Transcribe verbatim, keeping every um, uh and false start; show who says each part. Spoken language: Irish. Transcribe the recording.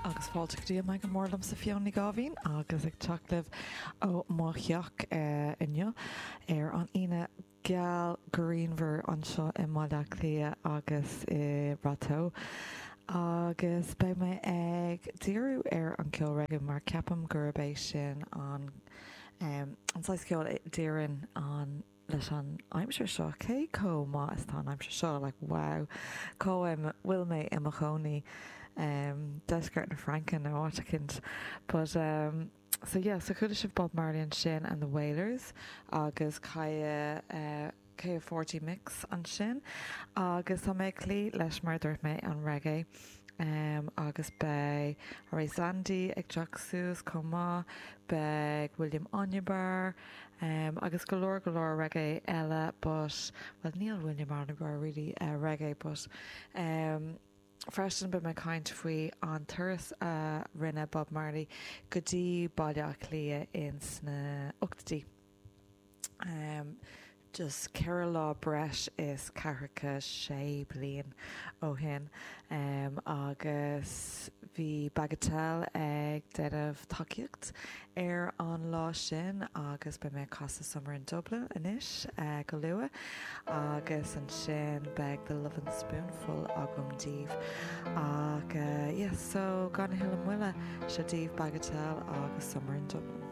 Speaker 1: Agus fáilte go dtí an Meangadh Mór liomsa Fiona Ní Gáibhín agus ag teacht libh ó mo theach inniu ar an Aoine geal grianmhar anseo i mBaile Átha Cliath agus i Rath Agus beidh mé ag díriú ar an ceol reggae mar ceapaim gurb é sin an um, an saghas ceoil a d'oireann an leis an aimsir seo cé chomh maith is tá an aimsir seo like wow cá bhfuil mé i mo chónaí um, deisceart na Fraince nó áit éicint but um, so yeah so chuala sibh Bob Marley ansin and the Wailers agus Kaya uh, K forty mix ansin agus tá mé clí leis mar dúirt mé an reggae um, agus beidh Zandi ag teacht suas chomh maith beidh William Onyeabor um, agus go leor go leor reggae eile but well níl William Onyeabor really uh, reggae but um, Freisin beidh mé caint faoi an turas a rinne Bob Marley go dtí Baile Átha Cliath in sna ochtóidí. Um, just ceithre lá breis is ceathracha sé bliain ó shin um, agus bhí Bagatelle ag déanamh tacaíocht ar an lá sin agus beidh mé casadh Summer in Dublin anois uh, go luath agus ansin beidh the Lovin' Spoonful agam daoibh ach uh, yes, so gan a thuilleadh moille seo daoibh Bagatelle agus Summer in Dublin.